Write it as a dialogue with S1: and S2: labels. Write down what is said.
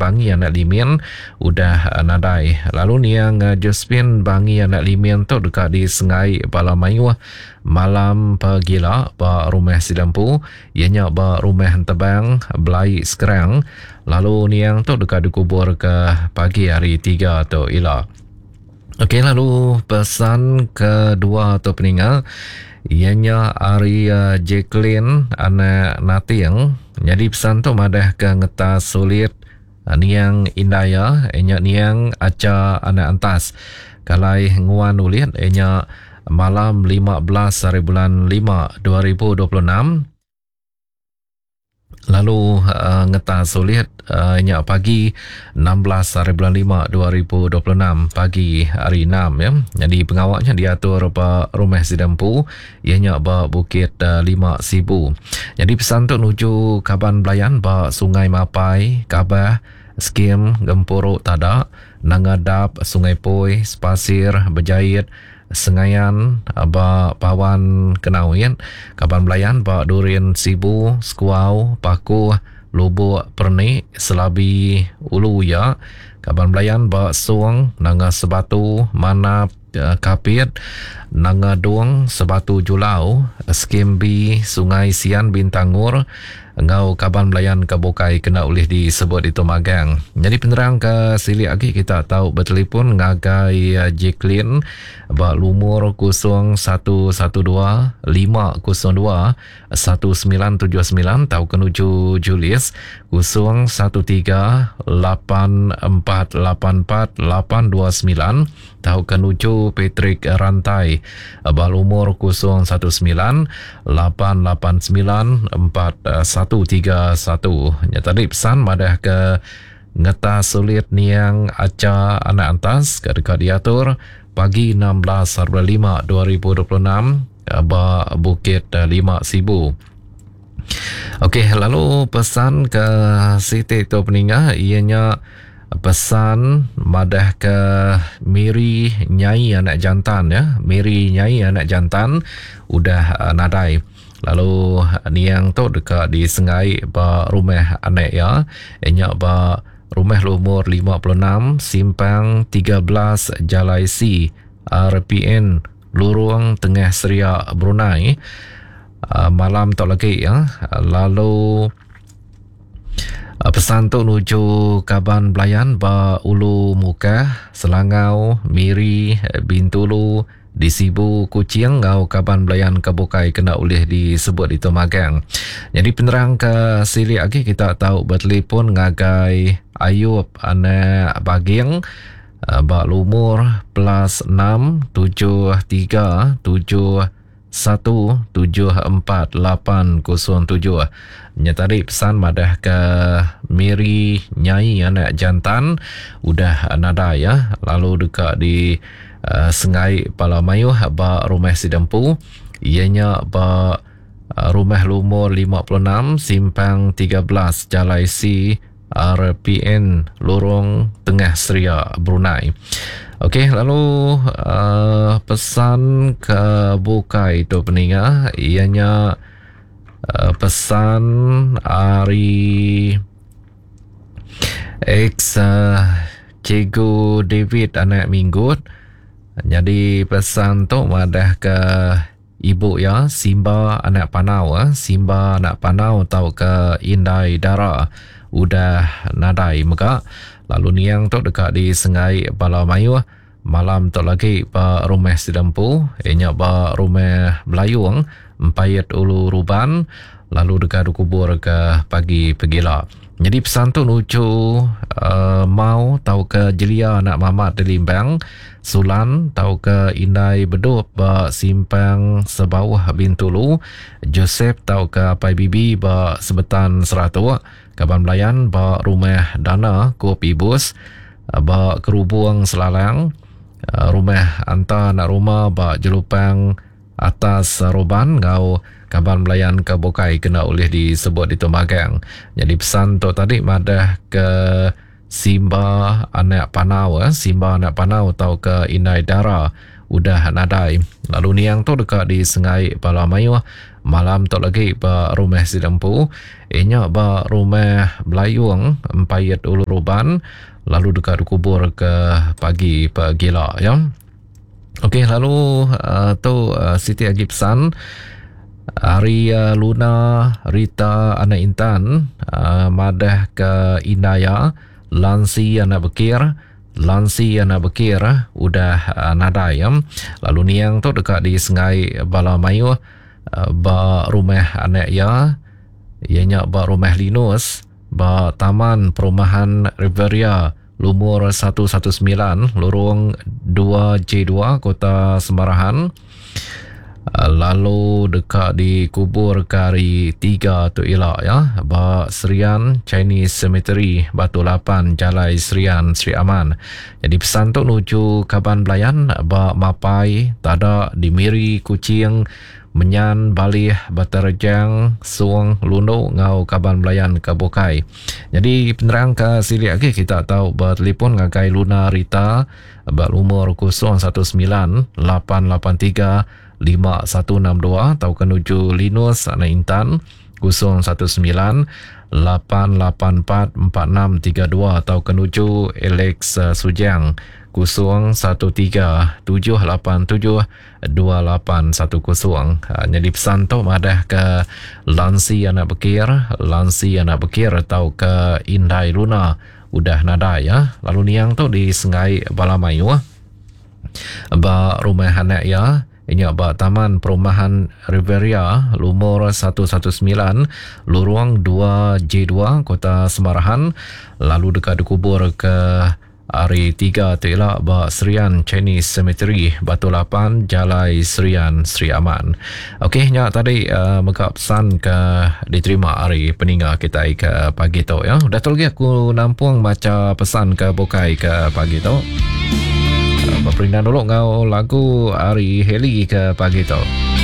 S1: Bangi anak Limin udah nadai. Lalu niang Josephine Bangi anak Limin tu deka disengai bala mayuh malam pegila ba rumah sida empu iya nya ba Rumah Entebang Belai Skrang lalu niang tu deka dikuburka pagi hari Tiga tu ila. Okey lalu pesan kedua tu peninga iya nya ari uh, Jacqueline anak Nating. Nyadi pesan tu madah ke ngetas sulit uh, niang indai iya nya niang Acha anak Antas. Kalai nguan ulit nya malam 15 hari bulan 5 2026 lalu uh, ngetas ulit uh, nya pagi 16 hari bulan 5 2026 pagi hari 6 ya. Jadi pengawaknya diatur ba rumah sida empu iya nya ba Bukit uh, 5 Sibu. Jadi pesan tu nuju kaban belayan ba Sungai Mapai, Kabah, Skim Gempuru Tada, Nanga Dap, Sungai Poi, Sepasir, Bejait, Sengayan ba Pawan Kenawit, kaban belayan ba Durin Sibu, Sekuau, Pakuh, Lubok Pernik, Selabi, Ulu Uya, kaban belayan ba Song, Nanga Sebatu, Manap, Kapit, Nanga Dong, Sebatu Julau, Skim B, Sungai Sian Bintangor enggau kaban belayan ke bukai kena ulih disebut ditu magang. Nyadi penerang ke silik agi kita tau betelefon ngagai eh, Jacqueline ba lumur 0112 502 1979 tauka nuju Julius 013 8484 829 tauka nuju Patrick Rantai ba lumur 019 889 4131. Nya tadi pesan madah ke ngetas sulit niang Acha Anak Antas ke deka diatur pagi 16 hari 5 2026 ba Bukit 5 Sibu. Okey, lalu pesan ke siti tu peninga iya nya Pesan madah ke Miri Nyai anak jantan ya. Miri Nyai anak jantan udah eh, nadai. Lalu niang tu deka disengai ba rumah anak iya nya ba rumah lumur 56 simpang 13 Jalai C RPN Lurung Tengah Seria Brunei eh, malam tu lagi ya. Lalu Pesan tu nuju kaban belayan ba Ulu Mukah, Selangau, Miri, Bintulu, di Sibu, Kuching enggau kaban belayan ke bukai kena ulih disebut ditu magang. Nyadi penerang ke silik agi kita tau betelefon ngagai Ayub anak Baging ba lumur plus 6 7 3 7 174807. Nya tadi pesan madah ke Miri Nyai anak jantan udah nadai ya lalu deka di uh, sengai pala mayuh ba rumah sida empu iya nya ba uh, rumah lumur 56 simpang 13 Jalai C RPN Lorong Tengah Seria Brunei. Okey, lalu uh, pesan ke bukai tu peninga ianya uh, pesan ari ex uh, Cikgu David anak Minggut. Jadi pesan tu madah ke Ibu iya, Simba anak Panau, Simba anak Panau tauka Indai Dara udah nadai mega lalu niang tu deka disenggai bala mayuh malam tu lagi ba rumah sida empu iya nya ba Rumah Belayung, Empait Ulu Ruban lalu deka dikuburka pagi pegila. Nyadi pesan tu nuju uh, Mau tauka Jelia anak Mamat di Limbang, Sulan tauka Indai Bedup ba Simpang Sebauh Bintulu, Joseph tauka Apai Bibi ba Sebetan Seratok, kaban belayan ba Rumah Dana Kup Ibus ba Kerubung Selalang, Rumah Anta anak Ruma ba Jelupang Atas Roban enggau kaban belayan ke bukai kena ulih disebut ditu magang. Nyadi pesan tu tadi madah ke Simba anak Panau eh, Simba anak Panau tauka Indai Dara. udah nadai. Lalu niang tu deka disengai bala mayuh malam tu lagi ba rumah sida empu iya nya ba Rumah Belayung Empait Ulu Ruban lalu deka dikubur ke pagi pegila ya. Okey lalu uh, tu uh, siti agi pesan ari uh, Luna Rita anak Intan uh, madah ke Indaya Lansi anak Bekir Lansi anak Bekir udah uh, nadai ya. Lalu niang tu deka disengai bala mayuh uh, ba rumah anak iya iya nya ba rumah Linus ba Taman Perumahan Riveria lumur 119 lurung 2J2 Kota Semarahan lalu deka dikubur ke hari 3 tu ila ya ba Serian Chinese Cemetery Batu 8 Jalai Serian Sri Aman. Jadi pesan tu nuju kaban belayan ba Mapai, Tada di Miri, Kuching, Menyan, Balih, Batu Rejang, Song, Lundu enggau kaban belayan ke bukai. Nyadi penerang ke silik agi kita tau betelefon ngagai Luna Rita ba lumur 019 883 5162 tauka nuju Linus anak Intan 019 884 4632 tauka nuju Alex Sujang 013 787 2810. Nyadi pesan tu madah ke Lansi anak Bekir, Lansi anak Bekir tauka Indai Luna udah nadai ya. Lalu niang tu disenggai bala mayuh ba rumah anak iya nya ba Taman Perumahan Riveria lumur 119 Lurung 2J2 Kota Semarahan lalu deka dikubur ke Hari Tiga tu ila ba Serian Chinese Cemetery, Batu Lapan, Jalai Serian, Sri Aman. Okey, nya tadi uh, mega pesan ke diterima ari peninga kitai ke pagi tu ya. Udah tu lagi aku nampung macha pesan ke bukai ke pagi tu. Uh, Beperindang dulu enggau lagu ari Heli ke pagi tu.